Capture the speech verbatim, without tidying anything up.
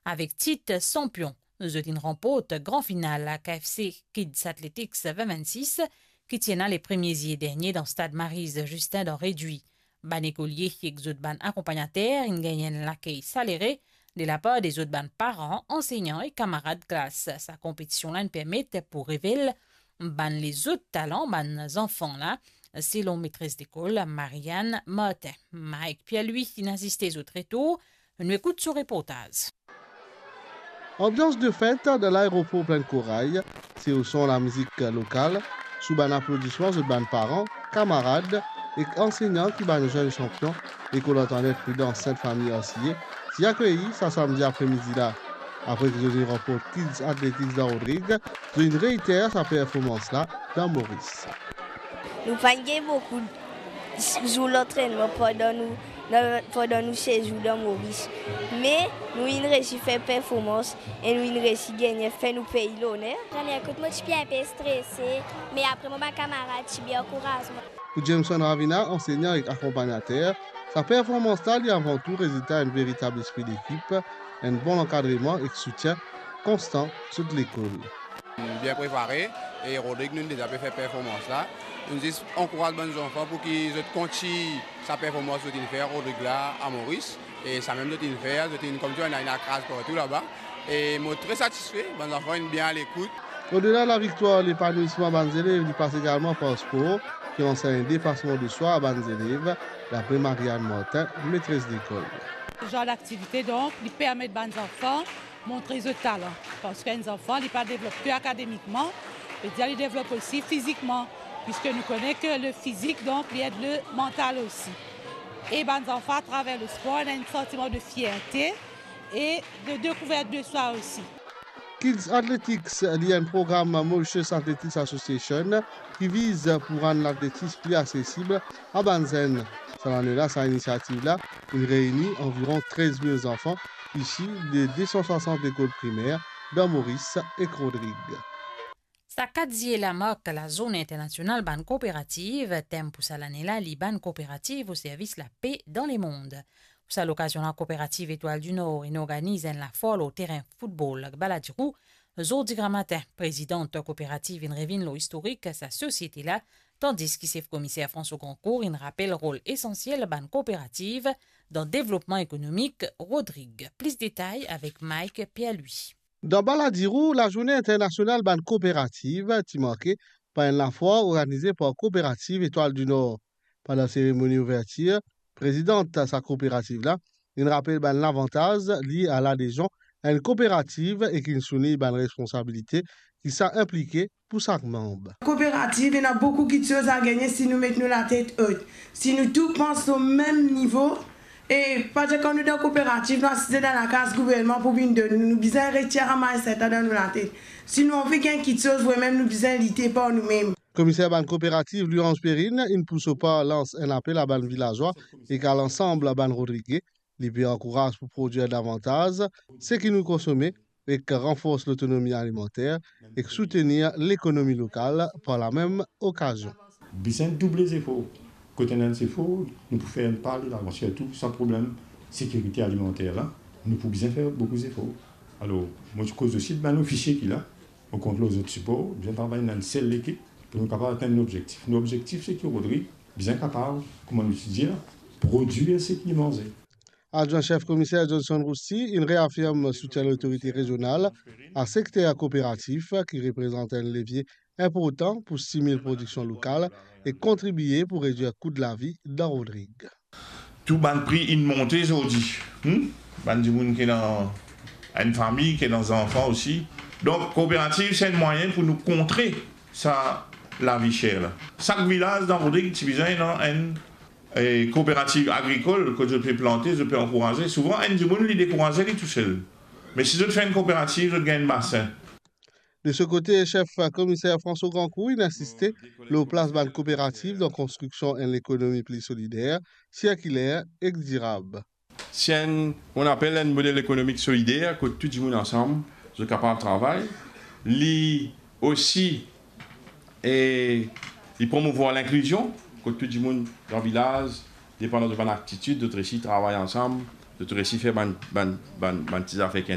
Avek tit sanpion, zot inn ranport gran final K F C Kids Athletics vin vinn sis, ki ti ena le premie zie dernie dan stad Maryse Justin dan Redui. Bann ekolie ek zot bann akonpagnater inn gagn enn lakey salere de lapar de zot bann paran, ansegnan e kamarad klas. Sa konpetision la inn permet pou revel bann lezot talan bann zanfan la, selon metres lekol Marianne Martin. Mike Pierre-Louis inn asiste zot retour. Nou ekout so reportaz. Anbians de fet dan laeropor Plinn Koray, se o son lamizik lokal, sou bann aplodisman zot bann paran, kamarad ek ansegnan ki bann zenn sanpion Lekol Antoinette Prudence Sint Fami Ansiye ti akeyir sa samdi apremidi la. Apre ki zot inn ranport Kids Athletics dan Rodrig, zot inn reiter sa performans la dan Moris. Nou pa'nn gagn boukou zour lantrennman pandan nou, dan, pandan nou sezour dan Moris. Me nou inn resi fer performans e nou inn resi gagne, fer nou pei loner. Premie kout mo ti pe inpe strese, me apre mo bann kamarad ti bien ankouraz mwa. Pou Jameson Ravina, ansegnan ek akonpagnater, sa performans la li avan tou rezilta enn veritab lespri lekip, enn bon lankadreman ek soutien konstan zot lekol. Bien prepare, e Rodrig nou deza pe fer performans la. Nou zis ankouraz bann zanfan pou ki zot kontign sa performans zot inn fer Rodrig la a Moris, e samem zot inn fer, zot inn koumsi ena, ena kraz partou laba. E mo tre satisfe, bann zanfan inn bien alekout. Odela laviktwar, lepanouisman bann zelev li pas egalman par spor, ki ansegn depasman de swa a bann zelev, dapre Marianne Martin, metres lekol. Sa zar daktivite, donk, li permet bann zanfan montre zot talan. Parski enn zanfan, li pa devlop ke akademikman, vedir li devlop osi fizikman, piski nou kone ke le fizik, donk, li ed le mantal osi. E bann zanfan, atraver le spor, ena enn santiman de fierte e de dekouvert de swa osi. Kids Athletics, li enn program Mauritius Athletics Association ki viz pou rann latletis pli asesib a bann zenn. Sa lane la, sa inisiativ la inn reyni anviron trez mil zanfan isi de de san swasant lekol primer dan Moris ek Rodrig. Sa kat zie la mark Lazourne Internasional bann Kooperativ. Tem pou sa lane la, li Bann kooperativ o servis lape dan lemond. Pou sa lokazion la, Kooperativ Etoile du Nord inn organiz enn lafwar lor terin foutbol Balladirou. Zordi gramatin, prezidan kooperativ inn revinn lor istorik sa sosiete la, tandis ki sef komiser François Grandcourt inn rapel rol esansiel bann kooperativ dan devlopman ekonomik Rodrig. Plis detay avek Mike Pierre-Louis. Dan Balladirou, Lazourne Internasional bann Kooperativ ti marke par enn lafwar organize par Kooperativ Etoile du Nord. Pandan seremoni ouvertir, prezidan sa kooperativ la inn rapel bann lavantaz lie a ladezion a enn kooperativ ek inn soulign bann responsabilite ki sa inplike pou sak manb. Kooperativ, ena boukou kitsoz a gagne si nou met nou latet ot, si nou tou pans o mem nivo. E pa dir kan nou dan kooperativ, nou asize dan lakaz gouvernman pou vinn donn nou, nou bizin retir sa mindset la dan nou latet. Si nou anvi gagn kitsoz, vremem nou bizin lite par noumem. Komiser bann kooperativ, Louis-Ange Perrine, inn pou so par lans enn apel a bann vilazwa ek a lansam bann Rodrige. Li pe ankouraz pou prodwir davantaz seki nou konsome ek ranfors lotonomi alimanter ek soutenir lekonomi lokal par lamem okazion. Bizin double zefor. Kot ena zefor, nou pou fer enn pa de lavan, sirtou sa problem sekirite alimanter la, nou pou bizin fer boukou zefor. Alor, mo ti koz osi bann ofisie ki la, mo kont lor zot sipor, bizin travay enn sel lekip pou nou kapav atenn nou obzektif. Nou obzektif, se ki Rodrig bizin kapav, kouma nou ti dir, prodwir seki li manze. Adjwin sef komiser Johnson Rousti inn reafirm soutien lotorite rezional a sekter kooperatif ki reprezant enn levie inportan pou stimil prodiksion lokal e kontribie pou redwir kou lavi dan Rodrig. Tou bann pri inn monte zordi. Hmm? Bann dimoun ki ena enn fami, ki ena zanfan osi. Donk, kooperativ, se enn mwayin pou nou kontre sa lavi ser la. Sak vilaz dan Rodrig ti bizin ena enn, eh, kooperativ agrikol, kot zot pe plante, zot pe ankouraze. Souvan, enn dimoun, li dekouraze li tousel. Me si zot fer enn kooperativ, zot gagn enn basin. De so kote, sef komiser François Grandcourt inn insiste lor plas bann kooperativ dan konstriksion enn lekonomi pli solider, sirkiler ek dirab. Se enn, on apel enn model ekonomik solider, kot tou dimoun ansam, zot kapav travay. Li osi, e, li promouvwar linklizion, kot tou dimoun dan vilaz, depandan de bann aptitid, zot resi travay ansam, zot resi fer bann, bann, bann, bann ti zafer ki